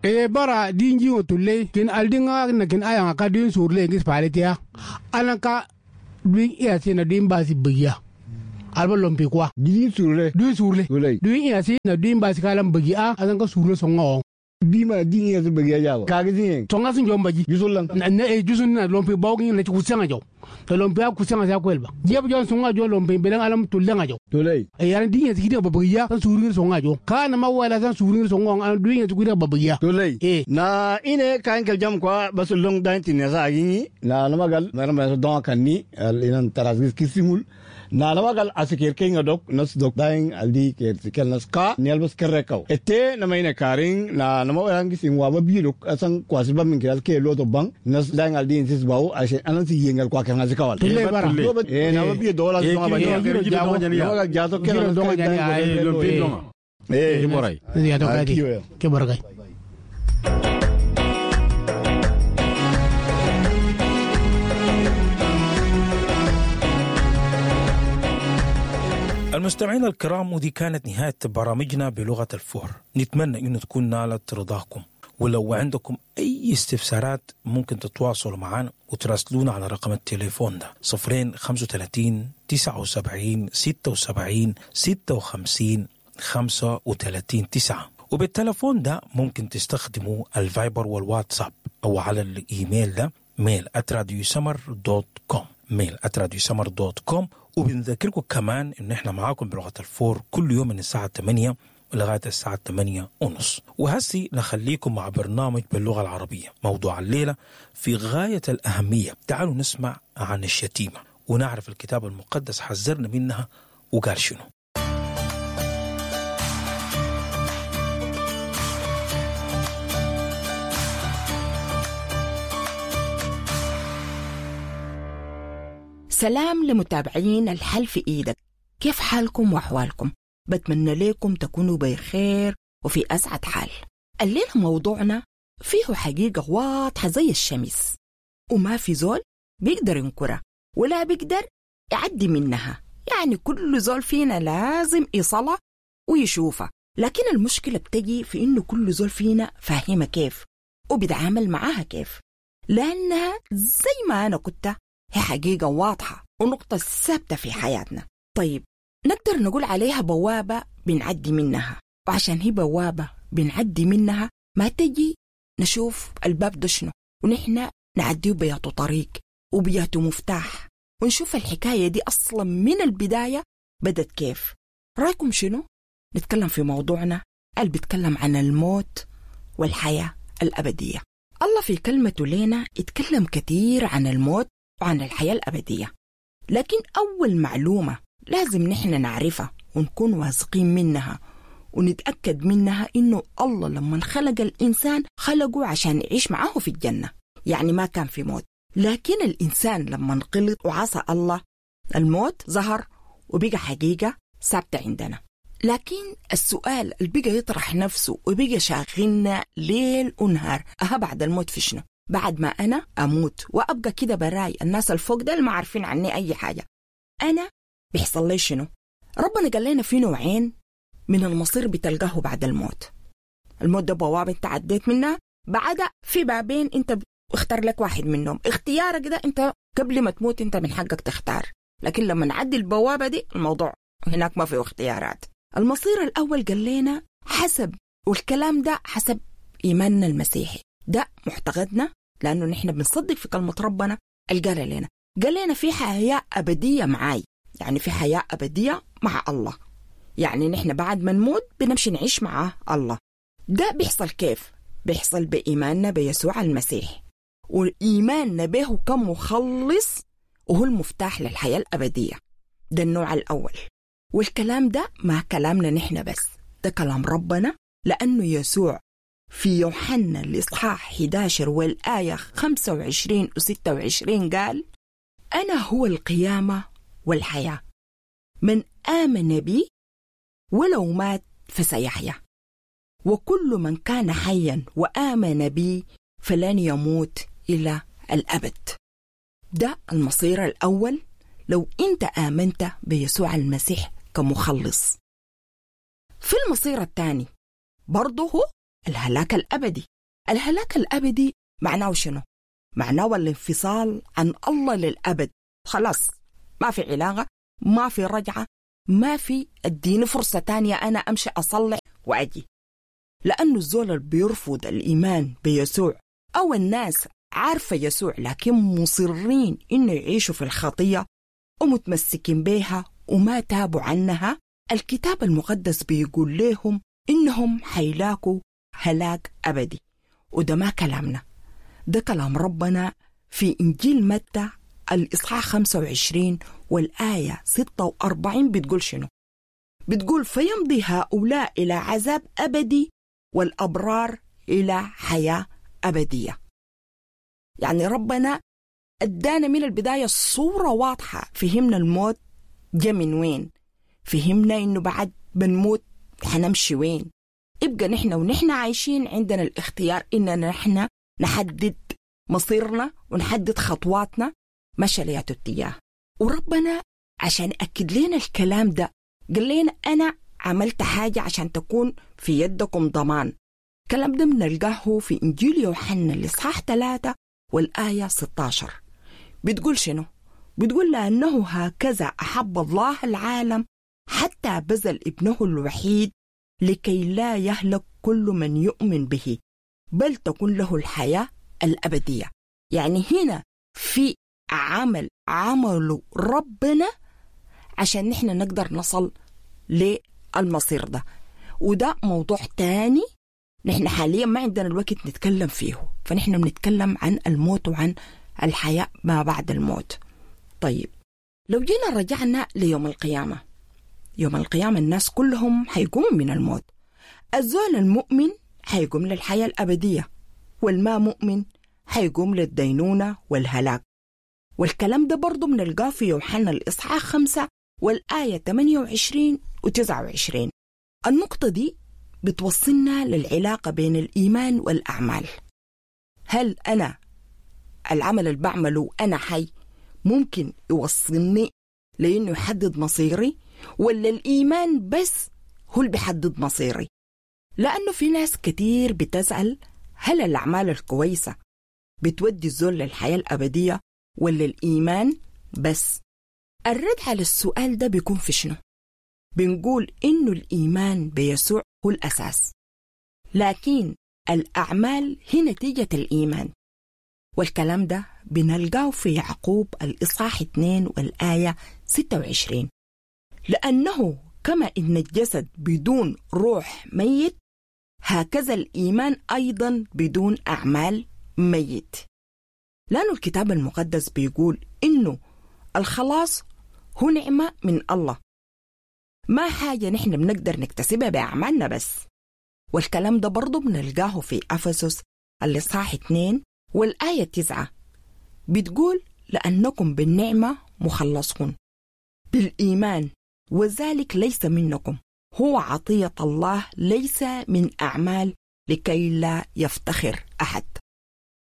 E bara dinji otulle kin aldinga na kin ayanga ka din surle ngis paletia anaka din iya na din basi biya alba lompi kwa Din surle. Din surle. Tulai. Din iya na din basi kalam biya anan ka surle songa o. Bima din iya su biya jawo. Kaga din. Songa sun jom baji. Yusulan. Na e jusun na lompi bawgin na kusanga jaw. To lompi a kusanga sa kwelba. Jeb jon songa jo lompi belang alam tulle nga jaw. Tulai. E yana din iya sikida babiya san surle songa jo. Kana mawala san surle songa an din iya sikida babiya. Tulai. E. Na ine kayan kaljam kwa basu long dain tin yasa agingi na namagal na nama don kanni al inan tarasgis kisimul na namagal asikir kinga dok nas dok dain aldi ker sikel nas ka ni albas kerrekaw ette nama ine karing na nama orang gisin wa ba bidok asan kwasi ba min kiral ke loto bang nas dain aldi insis bawo ashe anan si yengal kwa kan asikawal Tulai bara. E na ba bi dola Eh, songa ba namagal jato Giro ke donga jani, ay, Lompi donga. eh Boray. Ya to Ah, kadi. kiyo. Ke barkai. المستمعين الكرام، ودي كانت نهاية برامجنا بلغة الفور. نتمنى أن تكون نالت رضاكم، ولو عندكم أي استفسارات ممكن تتواصلوا معنا وتراسلونا على رقم التليفون ده 0 35 79 76 56 35 9. وبالتلفون ده ممكن تستخدموا الفايبر والواتساب أو على الإيميل ده mail@radiosummer.com، mail@radiosummer.com. وبنذكركم كمان إن إحنا معاكم بلغة الفور كل يوم من الساعة 8 لغاية الساعة 8:30. وهسي نخليكم مع برنامج باللغة العربية. موضوع الليلة في غاية الأهمية، تعالوا نسمع عن الشتيمة ونعرف الكتاب المقدس حذرنا منها وقال شنو. سلام لمتابعين الحل في إيدك، كيف حالكم وأحوالكم؟ بتمنى لكم تكونوا بخير وفي أسعد حال. الليلة موضوعنا فيه حقيقة واضحة زي الشمس، وما في زول بيقدر ينكرها ولا بيقدر يعدي منها، يعني كل زول فينا لازم يصلها ويشوفها. لكن المشكلة بتجي في إنه كل زول فينا فاهمة كيف وبيتعامل معاها كيف، لأنها زي ما أنا كنت هي حقيقة واضحة ونقطة ثابتة في حياتنا. طيب نقدر نقول عليها بوابة بنعدي منها، وعشان هي بوابة بنعدي منها ما تجي نشوف الباب ده شنو ونحن نعديه بياته طريق وبياته مفتاح، ونشوف الحكاية دي أصلا من البداية بدت كيف. رأيكم شنو؟ نتكلم في موضوعنا اللي بيتكلم عن الموت والحياة الأبدية. الله في كلمته لنا اتكلم كثير عن الموت وعن الحياة الأبدية، لكن أول معلومة لازم نحن نعرفها ونكون واثقين منها ونتأكد منها إنه الله لما خلق الإنسان خلقه عشان يعيش معاه في الجنة، يعني ما كان في موت. لكن الإنسان لما غلط وعصى الله الموت ظهر وبقى حقيقة ثابتة عندنا. لكن السؤال اللي بقى يطرح نفسه وبقى شاغلنا ليل ونهار، أها بعد الموت في شنو؟ بعد ما أنا أموت وأبقى كده براي، الناس الفوق ده ما عارفين عني أي حاجة، أنا بيحصل لي شنو؟ ربنا قال لنا في نوعين من المصير بتلقاه بعد الموت. الموت ده بوابة انت عديت منها، بعدها في بابين انت اختار لك واحد منهم. اختيارك ده انت قبل ما تموت انت من حقك تختار، لكن لما نعدي البوابة دي الموضوع هناك ما فيه اختيارات. المصير الأول قال لنا حسب، والكلام ده حسب إيماننا المسيحي، ده معتقدنا لأنه نحن بنصدق في كلمة ربنا اللي قال لنا. قال لنا في حياة أبدية معاي، يعني في حياة أبدية مع الله، يعني نحن بعد ما نموت بنمشي نعيش مع الله. ده بيحصل كيف؟ بيحصل بإيماننا بيسوع المسيح، وإيماننا به كمخلص، وهو المفتاح للحياة الأبدية. ده النوع الأول. والكلام ده ما كلامنا نحن بس، ده كلام ربنا، لأنه يسوع في يوحنا الإصحاح 11 والآية 25 و26 قال: أنا هو القيامة والحياة، من آمن بي ولو مات فسيحيا، وكل من كان حيا وآمن بي فلن يموت إلى الأبد. ده المصير الأول لو أنت آمنت بيسوع المسيح كمخلص. في المصير الثاني برضه هو الهلاك الأبدي. الهلاك الأبدي معناه شنو؟ معناه الانفصال عن الله للأبد، خلاص ما في علاقة، ما في رجعة، ما في اديني فرصة تانية أنا أمشي أصلح وأجي. لأنه الزول اللي بيرفض الإيمان بيسوع أو الناس عارفة يسوع لكن مصرين إنه يعيشوا في الخطية ومتمسكين بيها وما تابوا عنها، الكتاب المقدس بيقول لهم إنهم حيلاقوا هلاك أبدي. وده ما كلامنا، ده كلام ربنا في إنجيل متى الإصحاح 25 والآية 46 بتقول شنو؟ بتقول فيمضي هؤلاء إلى عذاب أبدي والأبرار إلى حياة أبدية. يعني ربنا أدانا من البداية الصورة واضحة، فهمنا الموت جا من وين، فهمنا إنه بعد بنموت حنمشي وين. يبقى نحن ونحن عايشين عندنا الاختيار إننا نحن نحدد مصيرنا ونحدد خطواتنا مشى لياتو اتجاه. وربنا عشان أكد لنا الكلام ده قال لنا أنا عملت حاجة عشان تكون في يدكم ضمان. الكلام ده بنلقاه في إنجيل يوحنا الإصحاح 3 والآية 16. بتقول شنو؟ بتقول لأنه هكذا أحب الله العالم حتى بذل ابنه الوحيد لكي لا يهلك كل من يؤمن به بل تكون له الحياة الأبدية. يعني هنا في عمل عمله ربنا عشان نحن نقدر نصل للمصير ده، وده موضوع تاني نحن حاليا ما عندنا الوقت نتكلم فيه، فنحن بنتكلم عن الموت وعن الحياة ما بعد الموت. طيب لو جينا رجعنا ليوم القيامة، يوم القيامة الناس كلهم حيقوموا من الموت. الزول المؤمن حيقوم للحياة الأبدية، والما مؤمن حيقوم للدينونة والهلاك. والكلام ده برضو بنلقاه في يوحنا الإصحاح 5 والآية 28 و29. النقطة دي بتوصلنا للعلاقة بين الإيمان والأعمال. هل أنا العمل اللي بعمله أنا حي ممكن يوصلني لأنه يحدد مصيري، ولا الإيمان بس هو اللي بيحدد مصيري؟ لأنه في ناس كتير بتسأل هل الأعمال الكويسة بتودي الزول للحياة الأبدية ولا الإيمان بس؟ الرد على السؤال ده بيكون في شنو؟ بنقول إنه الإيمان بيسوع هو الأساس، لكن الأعمال هي نتيجة الإيمان. والكلام ده بنلقاه في يعقوب الإصحاح 2 والآية 26، لأنه كما إن الجسد بدون روح ميت هكذا الإيمان أيضا بدون أعمال ميت. لأنه الكتاب المقدس بيقول إنه الخلاص هو نعمة من الله، ما حاجة نحن بنقدر نكتسبها بأعمالنا بس. والكلام ده برضو بنلقاه في أفسس الإصحاح 2 والآية 9، بتقول لأنكم بالنعمة مخلصون بالإيمان وذلك ليس منكم، هو عطية الله ليس من أعمال لكي لا يفتخر أحد.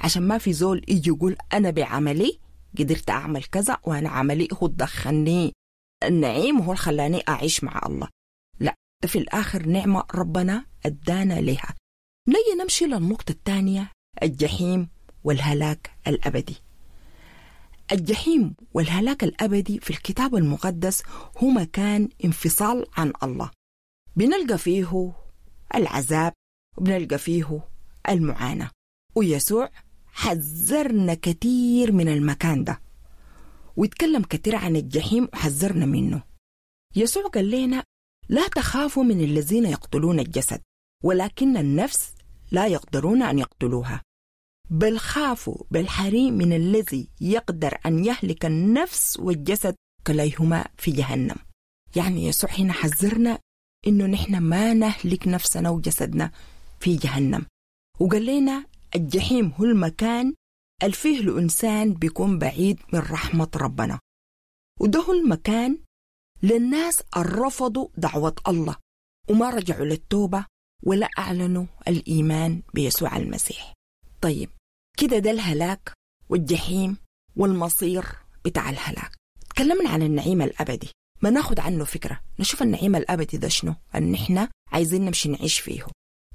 عشان ما في زول يجي يقول أنا بعملي قدرت أعمل كذا وأنا عملي هو دخلني النعيم وهو خلاني أعيش مع الله. لا، ده في الآخر نعمة ربنا أدانا لها. نجي نمشي للنقطة الثانية، الجحيم والهلاك الأبدي. الجحيم والهلاك الأبدي في الكتاب المقدس هو مكان انفصال عن الله، بنلقى فيه العذاب وبنلقى فيه المعاناة. ويسوع حذرنا كثير من المكان ده، ويتكلم كثير عن الجحيم وحذرنا منه. يسوع قال لنا لا تخافوا من الذين يقتلون الجسد ولكن النفس لا يقدرون أن يقتلوها، بل خافوا بالحري من الذي يقدر أن يهلك النفس والجسد كليهما في جهنم. يعني يسوع هنا حذرنا إنه نحن ما نهلك نفسنا وجسدنا في جهنم، وقال لنا الجحيم هو المكان اللي فيه الإنسان بيكون بعيد من رحمة ربنا، وده هو المكان للناس الرفضوا دعوة الله وما رجعوا للتوبة ولا أعلنوا الإيمان بيسوع المسيح. طيب كده ده الهلاك والجحيم والمصير بتاع الهلاك. تكلمنا عن النعيم الأبدي، ما ناخد عنه فكرة، نشوف النعيم الأبدي ده شنو أن إحنا عايزين نمشي نعيش فيه.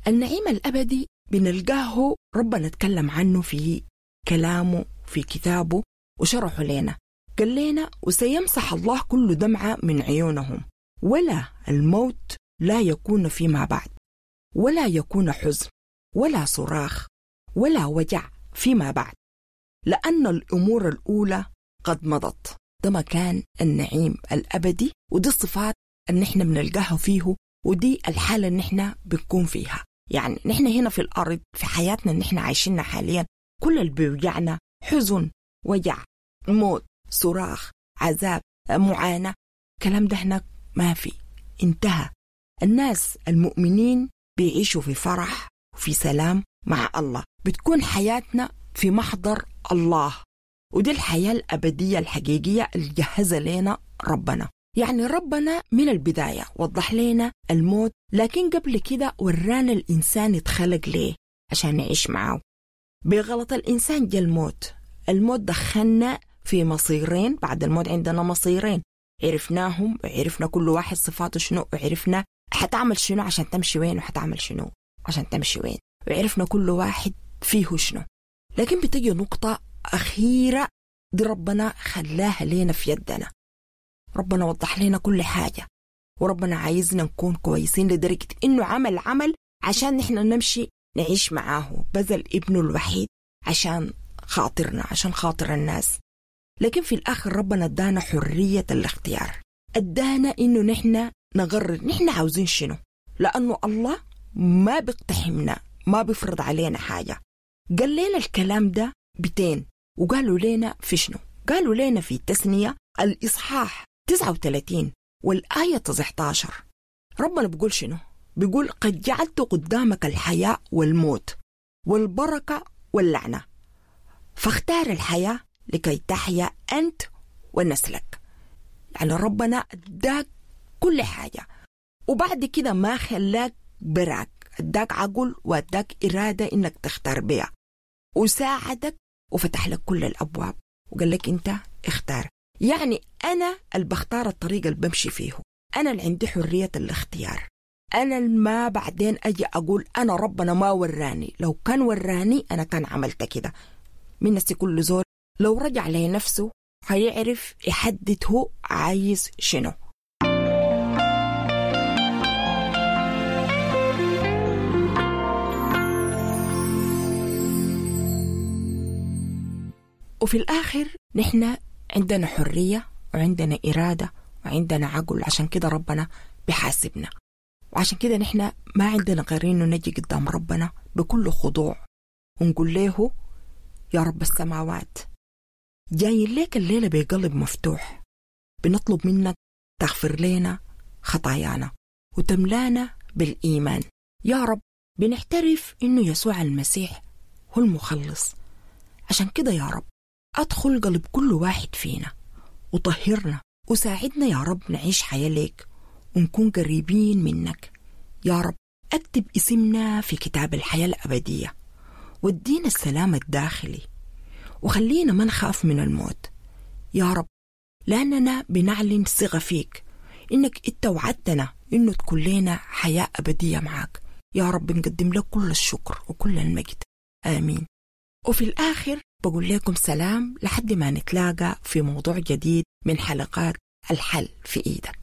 النعيم الأبدي بنلقاه ربنا اتكلم عنه في كلامه في كتابه وشرحه لنا. قال لنا وسيمسح الله كل دمعة من عيونهم، ولا الموت لا يكون فيما بعد، ولا يكون حزن ولا صراخ ولا وجع فيما بعد، لأن الأمور الأولى قد مضت. ده مكان النعيم الأبدي، ودي الصفات اللي نحن بنلقاها فيه، ودي الحالة اللي نحن بنكون فيها. يعني نحن هنا في الأرض في حياتنا اللي نحن عايشينها حاليا، كل اللي بيوجعنا حزن، وجع، موت، صراخ، عذاب، معاناة، الكلام ده هناك ما في، انتهى. الناس المؤمنين بيعيشوا في فرح وفي سلام مع الله، بتكون حياتنا في محضر الله، ودي الحياة الأبدية الحقيقية اللي جهزها لنا ربنا. يعني ربنا من البداية وضح لنا الموت، لكن قبل كده ورانا الإنسان اتخلق ليه عشان نعيش معاه. بغلط الإنسان جا الموت، الموت دخلنا في مصيرين، بعد الموت عندنا مصيرين عرفناهم، وعرفنا كل واحد صفاته شنو، وعرفنا حتعمل شنو عشان تمشي وين، وحتعمل شنو عشان تمشي وين، وعرفنا كل واحد فيه شنو. لكن بتجي نقطة أخيرة دي ربنا خلاها لينا في يدنا، ربنا وضح لنا كل حاجة، وربنا عايزنا نكون كويسين لدرجة إنه عمل عمل عشان نحن نمشي نعيش معاه، بذل ابنه الوحيد عشان خاطرنا، عشان خاطر الناس. لكن في الآخر ربنا ادانا حرية الاختيار، ادانا إنه نحن نقرر نحن عاوزين شنو، لأنه الله ما بيقتحمنا، ما بيفرض علينا حاجة. قال لنا الكلام ده بتين، وقالوا لنا في شنو؟ قالوا لنا في التثنية الإصحاح 39 والآية 19. ربنا بيقول شنو؟ بيقول قد جعلت قدامك الحياة والموت والبركة واللعنة، فاختار الحياة لكي تحيا أنت ونسلك. يعني ربنا اداك كل حاجة، وبعد كده ما خلاك براك، اداك عقل واداك إرادة إنك تختار بيها، وساعدك وفتح لك كل الأبواب وقال لك أنت اختار. يعني أنا اللي بختار الطريق اللي بمشي فيه، أنا اللي عندي حرية الاختيار، أنا اللي ما بعدين أجي أقول أنا ربنا ما وراني، لو كان وراني أنا كان عملت كده. من نفسي كل زول لو رجع لنفسه هيعرف يحدد هو عايز شنو. وفي الآخر نحن عندنا حرية وعندنا إرادة وعندنا عقل، عشان كده ربنا بيحاسبنا، وعشان كده نحن ما عندنا غير إنه نجي قدام ربنا بكل خضوع ونقول له يا رب السماوات، جايين لك الليلة بقلب مفتوح، بنطلب منك تغفر لنا خطايانا وتملانا بالإيمان. يا رب بنعترف إنه يسوع المسيح هو المخلص، عشان كده يا رب أدخل قلب كل واحد فينا وطهرنا وساعدنا يا رب نعيش حياة ليك ونكون قريبين منك. يا رب أكتب اسمنا في كتاب الحياة الأبدية، وادينا السلام الداخلي، وخلينا ما نخاف من الموت يا رب، لأننا بنعلن ثقة فيك إنك إنت وعدتنا إنه تكون لنا حياة أبدية معك. يا رب نقدم لك كل الشكر وكل المجد، آمين. وفي الآخر بقول لكم سلام لحد ما نتلاقى في موضوع جديد من حلقات الحل في إيدك.